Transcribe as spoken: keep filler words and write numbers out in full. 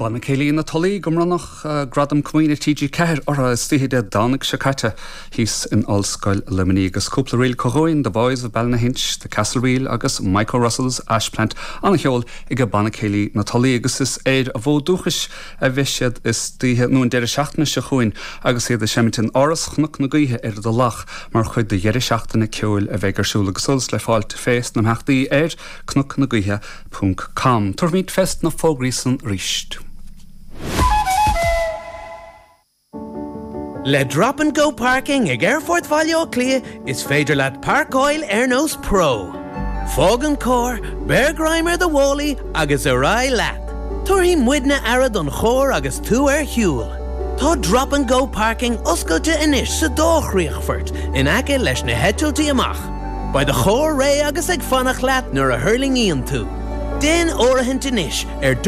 Banna Céilí na Tulaí go mbronnadh Gradam Comaoine TG Ceathair orthu istoíche Dé Domhnaigh seo caite thíos in Ollscoil Luimnigh agus cúpla ríl chugainn The Boys of Ballynahinch, The Castle Reel agus Michael Russell's Ashplant an-cheol ag Banna Céilí na Tulaí agus is ar a bhfód dúchais a bheidh siad istoíche nó an deireadh seachtaine seo chugainn agus iad ag seimint in Áras Chnoc na Gaoithe ar Dhulach mar chuid de dheireadh seachtaine ceoil a bheidh ar siúl agus eolas le fáil fés na himeachtaí ar cnoc na gaoithe ponc com. Tabharfaimid fés na fógraí san arís. Le Drop and Go Parking ag Aerfort Bhaile Átha Cliath is féidir leat páirceáil ar nós pro. Fág an carr, beir greim ar do mhálaí agus ar aghaidh leat. Tabharfaidh muidne aire don charr agus tú ar shiúl. Tá Drop and Go Parking oscailte anois sa dá chríochfort in aice leis na heitiltí amach. Beidh do charr réidh agus ag fanacht leat nuair a thuirlingíonn tú. Déan áirithint anois ar